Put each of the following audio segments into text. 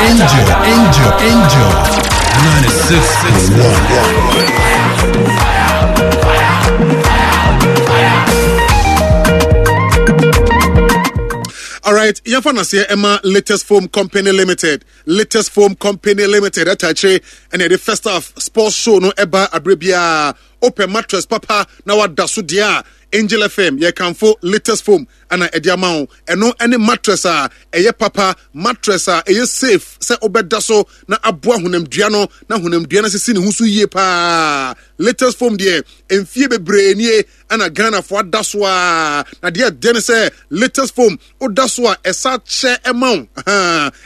Angel, Angel, Angel. 96.1. All right, yɛmfa naseɛ ɛma Latest Foam Company Limited. Latest Foam Company Limited ɛta akyire ɛna yɛde first half sports show no ɛba abere biara. Wopɛ mattress papa na wada so deɛ a, Angel FM yɛkamfo Latest Foam ɛna ɛde ama wo. Ɛno ɛne mattress a ɛyɛ papa, mattress a ɛyɛ safe sɛ wobɛda so na aboa honamdua no na honamdua no asisi ne ho so yie paa. Latest Foam deɛ mfie bebree nie ɛna Ghanafoɔ ada so a, na deɛ ɛdɛ ne sɛ Latest Foam woda so a ɛsa kyɛ ɛma wo,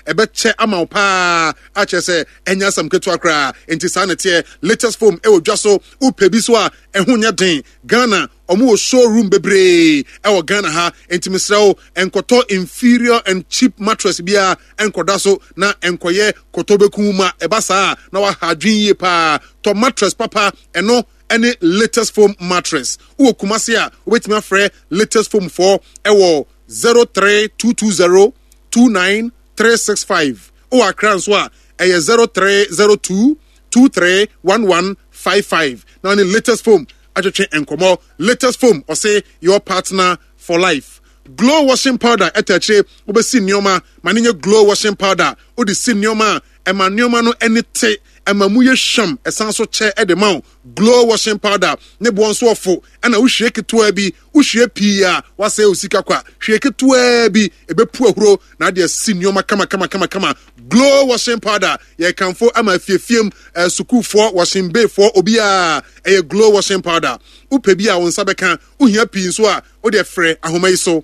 ɛbɛkyɛ ama wo paa, akyerɛ sɛ ɛnyɛ asɛm ketewa koraa. Nti saa na ɛteɛ. Latest Foam ɛwɔ dwa so, wopɛ bi so a ɛho nyɛ den. Ghana ɔmo wɔ showroom bebree ɛwɔ Ghana ha, nti mesrɛ wo nkɔtɔ inferior and cheap mattress biara nkɔda so na nkɔyɛ kɔtɔ bɛku ma ɛba saa na waha adwene yie paa. Tɔ mattress papa, ɛno ɛne Latest Foam mattress. Wowɔ Kumasi a, wobɛtumi afrɛ Latest Foam foɔ ɛwɔ 03220 29365. Wowɔ Accra nso a, ɛyɛ 0302 231155. Na ne Latest Foam atwetwe nkɔmmɔ. Latest Foam, ɔse your partner for life. Glow washing powder ɛta akyire, wobɛsi nneɛma ma ne nyɛ glow washing powder. Wode si nneɛma a, ɛma nneɛma no ani te, ɛma mu yɛ hwam, ɛsan so kyɛ ɛde ma wo. Glow washing powder ne boɔ nso ɔfo, ɛna wohwie ketewa bi, wohwie pii a wasɛe wo sika kwa. Hwie ketewa bi, ɛbɛpu ahuro na ade asi nneɛma kama kama kama kama. Glow washing powder yɛkamfo ama afiefiem, sukuufoɔ, washing bayfoɔ, obiara. Ɛyɛ glow washing powder. Wopɛ bi a wo nsa bɛka, wohia pii nso a wode frɛ ahoma yi so.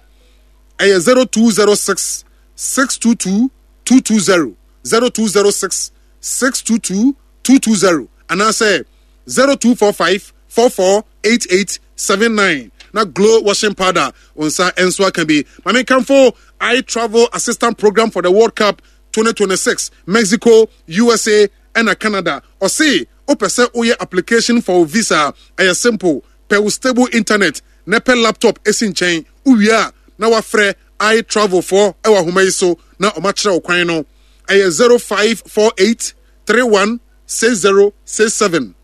Ɛyɛ 0206 622 220, 0206 622 220 anaasɛ 0245 448879. Na glow washing powder wo nsa nso aka bi. Maame nkamfo I Travel Assistant Program for the World Cup 2026 Mexico, USA ɛna Canada. Ɔse wopɛ sɛ woyɛ application for wo visa a, ɛyɛ simple. Pɛ wo stable internet na pɛ laptop esi nkyɛn. Wowie a na wafrɛ I Travel foɔ ɛwɔ ahoma yi so na ɔmakyerɛ wo kwan no. Ɛyɛ 0548 31 6067,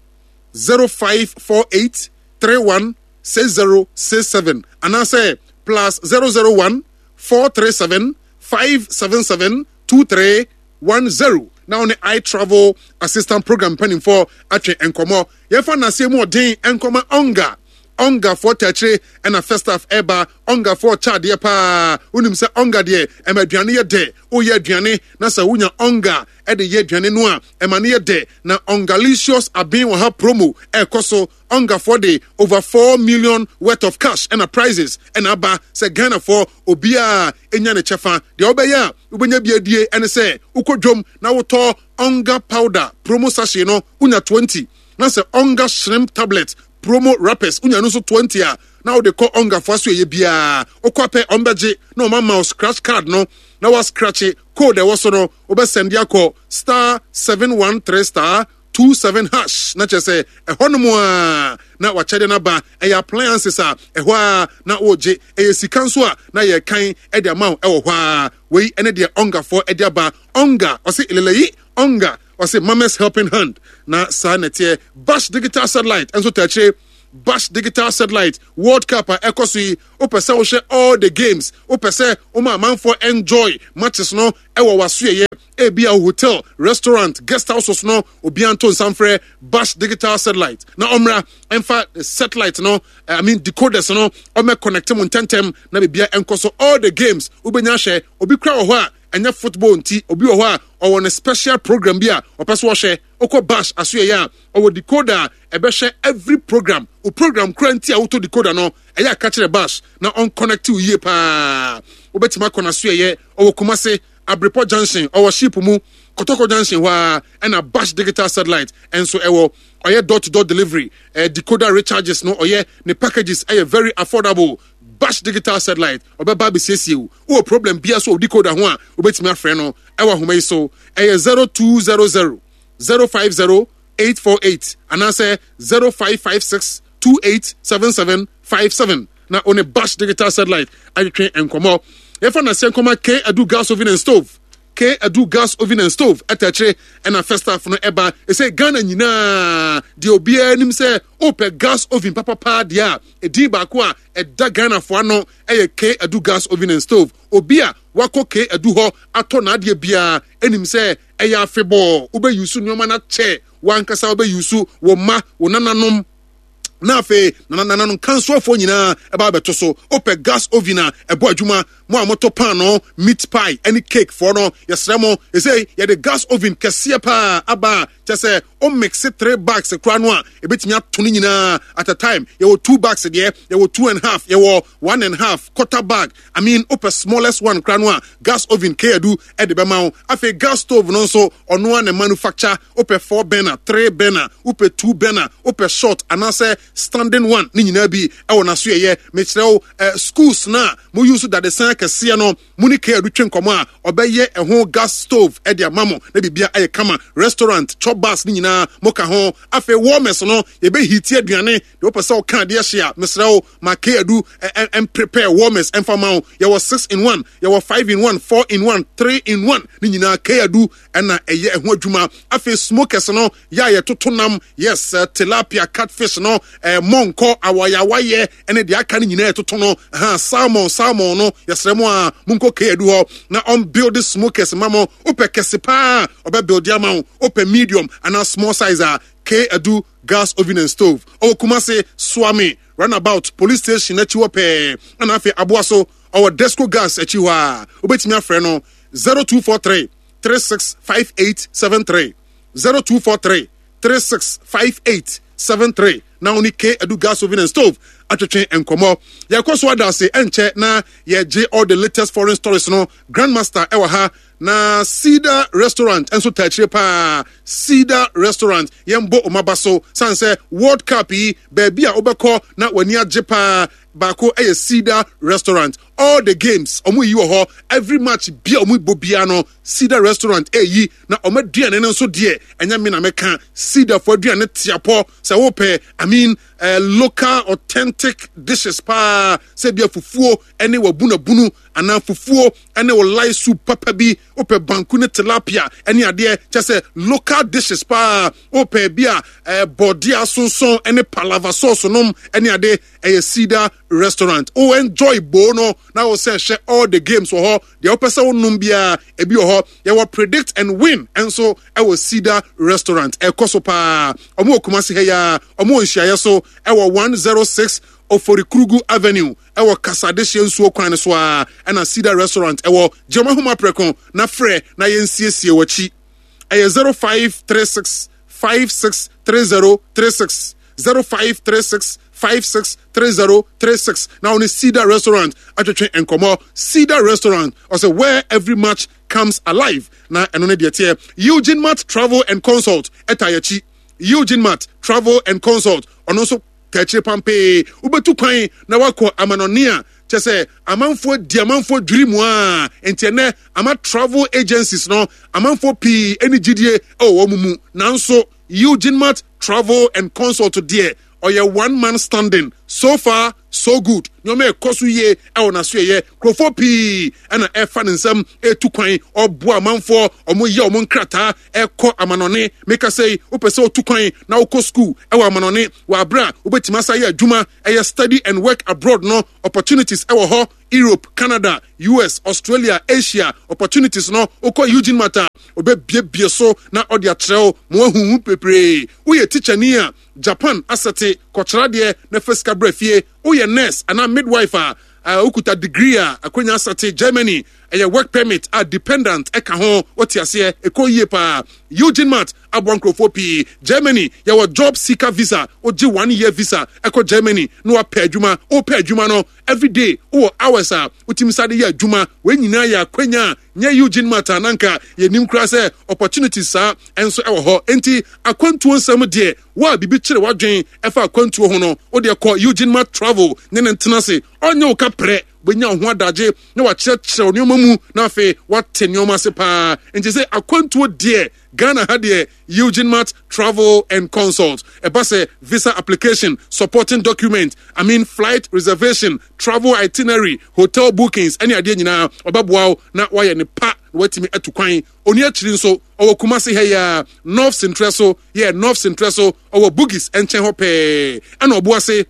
0548 31 6067 anaasɛ plus 001 437 577 2310 na wo ne I Travel Assistant Program mpanimfoɔ atwe nkɔmmɔ. Yɛmfa nnaseɛ mu ɔden nkɔma Ɔnga. Ɔngafoɔ taakyire ɛna Festaff ɛba. Ɔngafoɔ kyɛ adeɛ paa. Wonim sɛ ɔnga deɛ ɛma aduane yɛ dɛ. Woyɛ aduane na sɛ wonya ɔnga ɛde yɛ aduane no a, ɛma no yɛ dɛ. Na Ɔngalicious aben wɔ ha promo ɛrekɔ so. Ɔngafoɔ de over 4 million worth of cash ɛna prizes ɛna aba sɛ Ghanafoɔ obiara ɛnya ne kyɛfa. Deɛ wobɛyɛ a wobɛnya bi adie ɛne sɛ wokɔ dwom na wotɔ Ɔnga powder promo sachet no wonya 20, na sɛ Ɔnga shrimp tablet promo wrappers wonya no nso 20 a, na wode kɔ Ɔngafoɔ aso ɛyɛ biara. Wokɔ apɛ ɔmbɛgye na ɔma ma wo scratch card no na wascratche code ɛwɔ so no, wobɛsɛnde akɔ star 713 star 27 hash na kyerɛ sɛ ɛhɔ nom a na wakyɛde no aba. Ɛyɛ appliances a ɛhɔ a na wogye, ɛyɛ sika nso a na yɛkan de ama wo ɛwɔ hɔ a. Wei ɛne deɛ Ɔngafoɔ ɛde aba. Ɔnga ɔse eleleyi, Ɔnga ɔse mama's helping hand, na saa na ɛteɛ. Bash Digital Satellite nso ta akyire. Bash Digital Satellite World Cup a ɛkɔ so yi, wopɛ sɛ wohwɛ all the games, wopɛ sɛ woma amanfoɔ enjoy matches no ɛwɔ w'asoɛyɛ, ebi a hotel, restaurant, guest houses no, obiara nto nsa mfrɛ Bash Digital Satellite na ɔmmra ɛmfa satellite no, I mean decoders no, ɔmmɛ connect mu ntɛntɛm na biribiara ɛnkɔ so. All the games wobɛnya ahwɛ. Obi kura wɔ hɔ a ɛnyɛ football nti, obi wɔ hɔ a ɔwɔ ne special program bi a ɔpɛ so ɔhwɛ. Wokɔ Bash asoɛyɛ a, ɔwɔ decoder a ɛbɛhwɛ every program. Wo program kura nti a wotɔ decoder no, ɛyɛ a ka kyerɛ Bash na ɔnconnect wo yie paa. Wobɛtumi akɔ n'asoɛyɛ, ɔwɔ Kumase, Abrepɔ Junction, ɔwɔ ship mu, Kɔtɔkɔ Junction hɔ a ɛna Bash Digital Satellite nso ɛwɔ. Ɔyɛ door to door delivery, decoder recharges no ɔyɛ, ne packages ɛyɛ very affordable. Bash Digital Satellite ɔbɛba abɛsiesie wo. Wowɔ problem biara so wɔ decoder ho a, wobɛtumi afrɛ no ɛwɔ ahoma yi so. Ɛyɛ 0200 050 848 anaasɛ 0556 287757 na wo ne Bash Digital Satellite atwetwe nkɔmmɔ. Yɛfa naseɛ nkɔma K Adu Gas Oven and Stove. K Adu gas oven and stove ɛtɛkyere ɛna first half no ɛba. Ɛsɛ Ghana nyinaa deɛ obiara nim sɛ wopɛ gas oven papapaa deɛ a, ɛdin baako a ɛda Ghanafoɔ ano ɛyɛ K Adu gas oven and stove. Obi a wakɔ K Adu hɔ atɔ n'adeɛ biara ɛnim sɛ ɛyɛ afebɔɔ. Wobɛyusu nneɛma no akyɛ w'ankasa, wobɛyusu wo mma, wo nananom, na afei nananom kansoafoɔ nyinaa ɛba abɛto so. Wopɛ gas oven a ɛbɔ adwuma, mo a motɔ paano, meat pie ne cake foɔ no, yɛsrɛ mo, ɛsei yɛde gas oven kɛseɛ paa aba a kyɛ sɛ o mix three bags koraa no a, ɛbɛtumi ato no nyinaa at a time. Yɛwɔ two bags deɛ, yɛwɔ two and half, yɛwɔ one and half, quarter bag. I mean, wopɛ smallest one koraa no a, gas oven K-Adu de bɛma wo. Afei gas stove no nso, ɔno ara na manufacture. Wopɛ four burner, three burner, wopɛ two burner, wopɛ short anaasɛ standing one, ne nyinaa bi ɛwɔ n'asoɛyɛ. Mekyerɛ wo, schools no a mo use dadesan akɛseɛ no, mo ne K-Adu twe nkɔmmɔ a, ɔbɛyɛ ɛho gas stove de ama mo na biribia ayɛ kama. Restaurant, chop bars ne nyinaa mo ka ho. Afei warmers no, yɛbɛhiti aduane. Deɛ wopɛ sɛ ɔka adeɛ hye a, mesrɛ wo, ma K-Adu prepare warmers ɛmfa ma wo. Yɛwɔ 6 in 1, yɛwɔ 5 in 1, 4 in 1, 3 in 1, ne nyinaa K-Adu ɛna ɛyɛ ɛho adwuma. Afei smokers no, yɛ a yɛtoto nam, yes, tilapia, catfish no, mɔnkɔ, awayawayɛ ɛne deɛ aka no nyinaa yɛtoto no, ha salmon, salmon no, yɛsrɛ mo a monkɔ K-Adu hɔ na ɔmbuild smokers ma mo. Wopɛ kɛse paa, ɔbɛ build ama wo. Wopɛ medium anaa small size a, K-Adu gas oven and stove ɔwɔ Kumase Suame runabout police station akyi hɔ pɛɛ, ɛna afei aboa so ɔwɔ Desco gas akyi hɔ a, wobɛtumi afrɛ no 0243 365873, 0243 365873, na wo ne K Adu gas oven and stove atwetwe nkɔmmɔ. Yɛkɔ so ada ase, ɛnkyɛ na yɛgye all the latest foreign stories no. Grandmaster ɛwɔ ha na Cedar Restaurant nso ta akyire paa. Cedar Restaurant, yɛmbɔ ɔmaba so sane sɛ World Cup yi, baabi a wobɛkɔ na w'ani agye paa baako ɛyɛ Cedar Restaurant. All the games ɔmo yi wɔ hɔ, every match bia ɔmo bɔ bia no, Cedar Restaurant ɛyi na ɔmo aduane no nso deɛ, ɛnyɛ me na mɛka. Cedar fo aduane tiapɔ sɛ wopɛ, I mean, local authentic dishes paa, sɛ bia fufuo ɛne wabunabunu anaa fufuo ɛne wo light soup papa bi, wopɛ banku ne tilapia ɛne adeɛ, kyɛ sɛ local dishes paa, wopɛ bi a bɔdeɛ asonson ɛne palava sauce nom ɛne ade, ɛyɛ Cedar Restaurant. Wo enjoy bo no na wo sɛ hwɛ all the games wɔ hɔ deɛ, wopɛ sɛ wonom biara ebi wɔ hɔ. Yɛwɔ predict and win nso ɛwɔ Cedar Restaurant, ɛkɔ so paa. Ɔmo wɔ Kumasi ha yi a, ɔmo wɔ nhyiaeɛ so ɛwɔ 106 Oforikrugu Avenue ɛwɔ Kasadehyeɛ nsuo kwan no so a ɛna Cedar Restaurant ɛwɔ. Gyama homa prɛko na frɛ na yɛnsiesie w'akyi. Ɛyɛ 0536 563036, 0536 563036, na wo ne Cedar Restaurant atwetwe nkɔmmɔ. Cedar Restaurant ɔsɛ where every match comes alive, na ɛno ne deɛ teɛ. Eugene Mart Travel and Consult ɛta yɛkyi. Eugene Mart Travel and Consult, ɔno nso tɛkyere pampee. Wobɛtu kwan na wakɔ amanɔne a, kyɛ sɛ amanfoɔ di amanfoɔ dwiri mu a, nti ɛnɛ ama travel agencies no, amanfoɔ pii ani gyidie ɛwɔ wɔn mu, nanso Eugene Mart Travel and Consult deɛ, ɔyɛ one man standing. So far so good, nneɛma ɛkɔ so yie ɛwɔ n'aso. Ɛyɛ nkurɔfoɔ pii ɛna ɛfa ne nsam ɛtu kwan, ɔboa amanfoɔ, ɔmo yɛ ɔmo nkrataa ɛkɔ amanɔne. Meka sɛ yi, wopɛ sɛ otu kwan na wokɔ school ɛwɔ amanɔne wɔ abere a wobɛtumi asa yɛ adwuma, ɛyɛ study and work abroad no, opportunities ɛwɔ hɔ. Europe, Canada, US, Australia, Asia opportunities no, wokɔ Eugene Mart a, ɔbɛbiebie so na ɔde akyerɛ wo ma wahuhu bebree. Woyɛ tikyani a, Japan asɛte kɔkyerɛ adeɛ na fa sika brɛ fie. Woyɛ nurse anaa midwife a wokuta degree a, akwanya asɛte Germany, ɛyɛ work permit a dependent ɛka ho. Wote aseɛ, ɛkɔ yie paa. Eugene Mart aboa nkurɔfoɔ pii. Germany, yɛwɔ job seeker visa. Wogye one year visa ɛkɔ Germany na wapɛ adwuma. Wopɛ adwuma no, everyday wowɔ hours a wotumi sa de yɛ adwuma. Wei nyinaa yɛ akwanya a nyɛ Eugene Mart a, nanka yɛnim koraa sɛ opportunities saa ɛnso ɛwɔ hɔ. Enti akwantuo nsɛm deɛ, wo a biribi kyerɛ w'adwen ɛfa akwantuo ho no, wodeɛ kɔ Eugene Mart Travel ne ne ntena ase. Ɔnyɛ wo ka prɛ, wobɛnya wo ho adagye na wakyerɛkyerɛ wo nneɛma mu na afei wate nneɛma ase paa. Nti sɛ akwantuo deɛ, Ghana ha deɛ, Eugene Mart Travel and Consult. Ɛba sɛ visa application, supporting document, I mean, flight reservation, travel itinerary, hotel bookings ɛne adeɛ nyinaa, ɔbɛboa wo na wayɛ ne pa. na watumi atu kwan. Ɔni akyiri nso, ɔwɔ Kumasi ha yi ara, North Sentrɛ so, yeah, North Sentrɛ so, ɔwɔ Bugis nkyɛn hɔ pɛɛ, ɛna Ɔboase,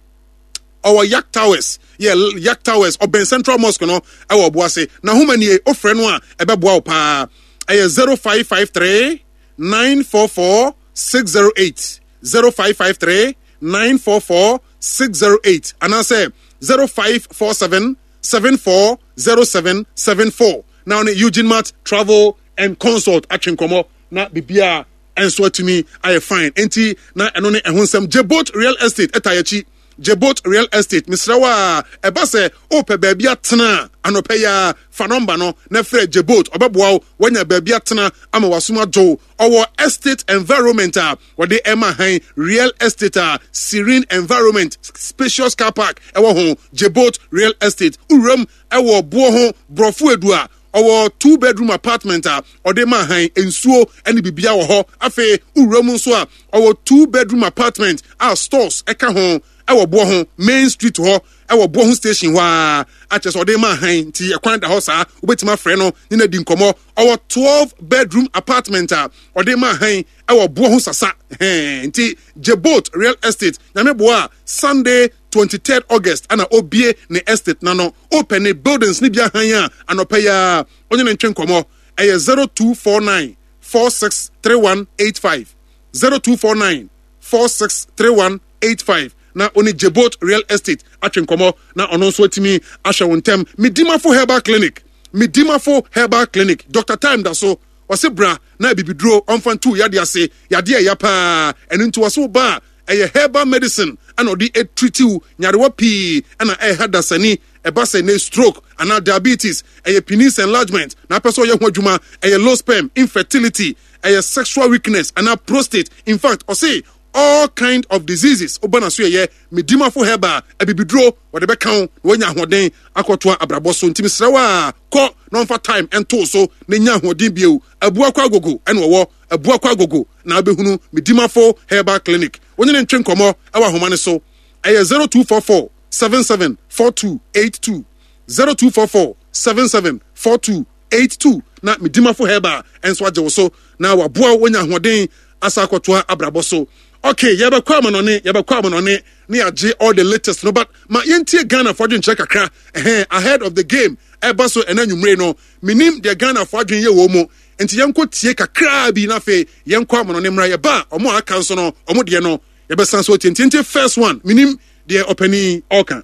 ɔwɔ Yak Towers, yeah, Yak Towers, ɔbɛn Central Mosque no, ɛwɔ Ɔboase. N'ahoma nie, wofrɛ no a, ɛbɛboa wo paa. Ɛyɛ 0553 944 608, 0553 944 608, anaasɛ 0547 740774 na ɔne Eugene Mart Travel and Consult atwe nkɔmmɔ na biribiara nso atumi ayɛ fine. Enti na ɛno ne ɛho nsɛm. Jebot Real Estate ɛta yɛakyi. Jebot Real Estate, mesrɛ wo a, ɛba sɛ wopɛ baabi atena a, anɔpɛ yi ara fa nɔmba no na frɛ Jebot. Ɔbɛboa wo woanya baabi atena ama w'asom adwo wo. Ɔwɔ estate environment a wɔde ɛma han, real estate a serene environment, spacious car park ɛwɔ ho. Jebot Real Estate, wuram ɛwɔ boɔ ho, borɔfo edu a ɔwɔ two bedroom apartment a ɔde ma han, nsuo ɛne bibia wɔ hɔ. Afei wuram nso a ɔwɔ two bedroom apartment a stores ɛka ho ɛwɔ boɔ ho, main street hɔ, ɛwɔ boɔ ho station hɔ a akyɛ sɛ ɔde ma han, nti ɛkwan da hɔ saa, wobɛtumi afrɛ no ne no adi nkɔmmɔ. Ɔwɔ 12 bedroom apartment a ɔde ma han ɛwɔ boɔ ho sasa hɛn. Nti Jebot Real Estate, nyame boa a, Sunday 23rd August ana obie ne estate na no opɛ ne buildings ne bi ahan a, anɔpɛ yi a ɔnye ne ntwe nkɔmmɔ. Ɛyɛ 0249 463185, 0249 463185 na ɔne Jebot Real Estate atwe nkɔmmɔ na ɔno nso atumi ahwɛ wo ntɛm. Medimafo Herbal Clinic, Medimafo Herbal Clinic, Dr. Time da so ɔse bra na abibiduro ɔmfa ntu yadeɛ ase, yadeɛ ɛya paa, ɛno nti ɔse wo ba a ɛyɛ herbal medicine ɛna ɔde ɛtritiw nyarewa pii ɛna ɛha dasani, ɛba sɛ ne stroke anaa diabetes, ɛyɛ penis enlargement na apɛ sɛ ɔyɛ ho adwuma, ɛyɛ low sperm, infertility, ɛyɛ sexual weakness anaa prostate. In fact, ɔse all kind of diseases woba na so yɛyɛ Medimafo Herbal abibiduro wɔde bɛka wo na woanya ahoɔden akɔtoa abrabɔ so. Nti mesrɛ wo a, kɔ na ɔmfa time ɛntoo so na nya ahoɔden bio. Abuakɔ Agogo ɛna ɔwɔ Abuakɔ Agogo na wobɛhunu Medimafo Herbal Clinic. Wo ne no ntwe nkɔmmɔ ɛwɔ ahoma no so. Ɛyɛ 0244 77 4282, 0244 77 4282 na Medimafo Herbal nso agye wo so na waboa wo woanya ahoɔden asa akɔtoa abrabɔ so. Okay, yɛbɛkɔ amanɔne, yɛbɛkɔ amanɔne ne yɛagye all the latest no, but ma yɛntie Ghana fo adwenkyerɛ kakra ɛhɛn ahead of the game ɛba so ɛna anwummere no. Menim deɛ Ghana fo adwen yɛ wɔ mu, nti yɛnkɔ tie kakraa bi na afei yɛnkɔ amanɔne mmra. Yɛba a, ɔmo a aka nso no, ɔmo deɛ no yɛbɛsan so atie. Nti yɛntie first one, menim deɛ ɔpanin ɔka.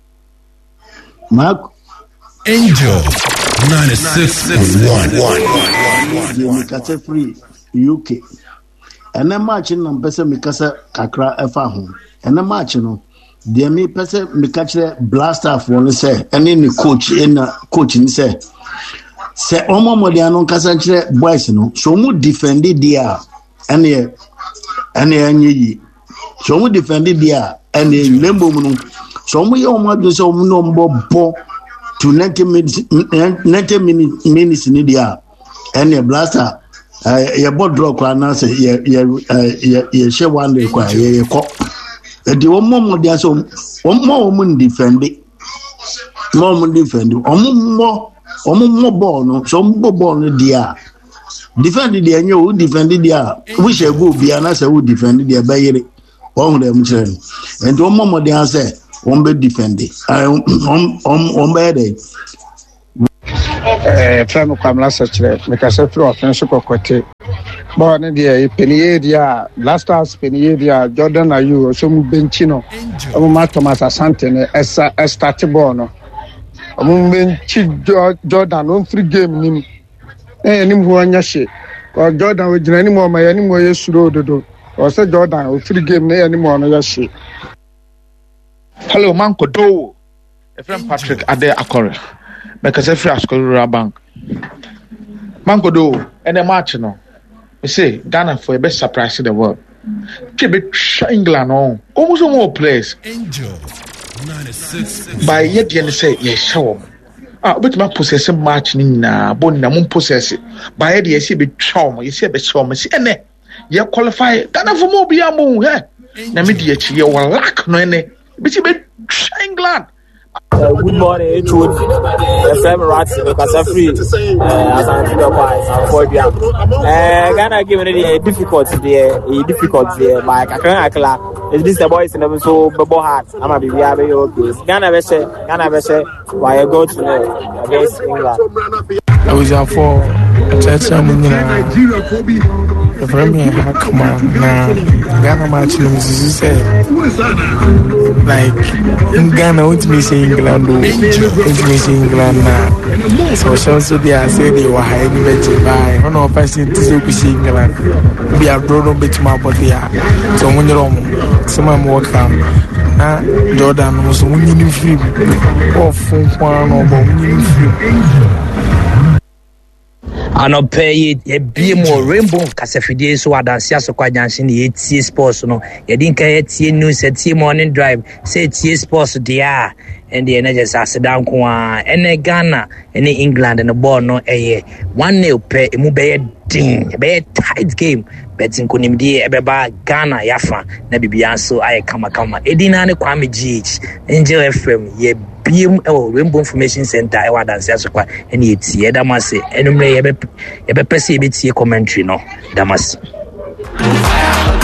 Mark Angel 96.1. Deɛ mekasa firi UK. Ɛnɛ March no na mpɛ sɛ mekasa kakra ɛfa ho. Ɛnɛ March no, deɛ mepɛ sɛ meka kyerɛ Blasterfoɔ no sɛ ɛne ne coach ɛna coach no sɛ sɛ wɔn mmɔden ano nkasa nkyerɛ boys no sɛ wɔn defend deɛ a ɛneɛ ɛneɛ ɛnyɛ yie. Sɛ wɔn defend deɛ a ɛneɛ na mmom no sɛ wɔn yɛ wɔn adwene sɛ wɔn ne wɔn bɔ bɔ to 90 minutes 90 minutes ne deɛ a ɛneɛ Blaster yɛbɔ draw koraa na sɛ yɛ yɛ yɛ yɛhyɛ one day koraa yɛ yɛkɔ ɛdi wɔn mmɔ mmɔden sɛ wɔn mmɔ wɔn ndifɛnde mmɔ wɔn ndifɛnde wɔn mmɔ wɔn mmɔ bɔɔl no sɛ wɔn bɔ bɔɔl no deɛ a defend deɛ ɛnyɛ o defend deɛ a wohyɛ goal bia na sɛ wo defend deɛ ɛbɛyere wɔn ho dɛm kyerɛ no nti wɔn mmɔ mmɔden sɛ wɔn bɛ defend wɔn wɔn bɛyɛ dɛ. Yɛfrɛ me Kwamina Sɛkyerɛ, mekasa firi Ɔfen so Kɔkɔte. Bɔɔl no deɛ yɛpɛ no yie deɛ a, Black Stars pɛ no yie deɛ a, Jordan Ayew ɔsɛ ɔmo bɛnkyi no, ɔmo ma Thomas Asante no ɛsa ɛstate bɔɔl no. Ɔmo bɛnkyi Jordan ɔmfiri game no mu na yɛn anim hɔ nyɛ hye. Kɔ Jordan ogyina anim hɔ ma yɛn anim hɔ yɛ suro dodo. Ɔsɛ Jordan ɔfiri game no yɛn anim hɔ no yɛ hye. Hello, Manko Dowo. Yɛfrɛ me Patrick Ade Akɔre. Mekasa firi Asukari Rural Bank. Mankodo, ɛnɛ match no, mese Ghana fo yɛbɛ surprise the world. Twe bɛtwa England no, wɔn nso wɔn wɔ players. By yɛ deɛ ne sɛ yɛhyɛ wɔn. Ah, wobɛtumi aposɛse match no nyinaa, bɔ nyinaa mo mposɛse. By yɛ deɛ yɛsɛ yɛbɛtwa wɔn, yɛsɛ yɛbɛhyɛ wɔn, mese ɛnɛ yɛ qualify Ghana fo mu obiara mo hɛ. Na me di akyi yɛ wɔ luck no ɛnɛ. Bɛsi bɛtwa England. Good morning, HOD. Yɛfrɛ me Ratsi, mekasa firi eh, Asante Bɛkɔ a Sanfo Adua. Eh, Ghana game no deɛ difficult deɛ, ɛyɛ difficult deɛ, but kakra kakra, ɛdi sɛ boys no nso bɛbɔ hard ama biribiara bɛyɛ okay. Ghana bɛhyɛ, Ghana bɛhyɛ, wayɛ go to know against England. Abusuafoɔ akyerɛkyerɛ mu nyinaa yɛfrɛ me Hakama na Ghana match no mesusu sɛ like Ghana wontumi hyɛ England o wontumi hyɛ England na sɛ ɔhyɛ nso deɛ a sɛ deɛ wɔ ha ani bɛgye baa ɛhɔ na ɔfa hyɛ nti sɛ wokɔhyɛ England bi adoro no bɛtumi abɔ deɛ a sɛ ɔmo nyerɛ ɔmo sɛm a mewɔ ka na Jordan no nso ɔmo nyini mfiri mu ɔfo nko ara na ɔbɔ ɔmo nyini mfiri mu. Anɔpɛ yi yɛbie mu wɔ Rainbow kasafidie so wɔ Adanse Asokwa Junction na yɛtie sports no. Yɛde nka yɛtie news, yɛtie morning drive, sɛ yɛtie sports deɛ a ɛndeɛ na kyerɛ sɛ aseda nko ara. Ɛnɛ Ghana ne England no bɔɔl no ɛyɛ 1-0 pɛ, emu bɛyɛ den, ɛbɛyɛ tight game, but nkonimdie ɛbɛba Ghana yafa na biribiara nso ayɛ kamakama. Edin naa ne Kwame GH, Angel FM, yɛ biem wɔ Rainbow Information Center ɛwɔ Adanse Asokwa ɛne yɛtie. Ɛda mo ase. Ɛnumere yɛbɛpɛ sɛ yɛbɛtie commentary no. Ɛda mo ase.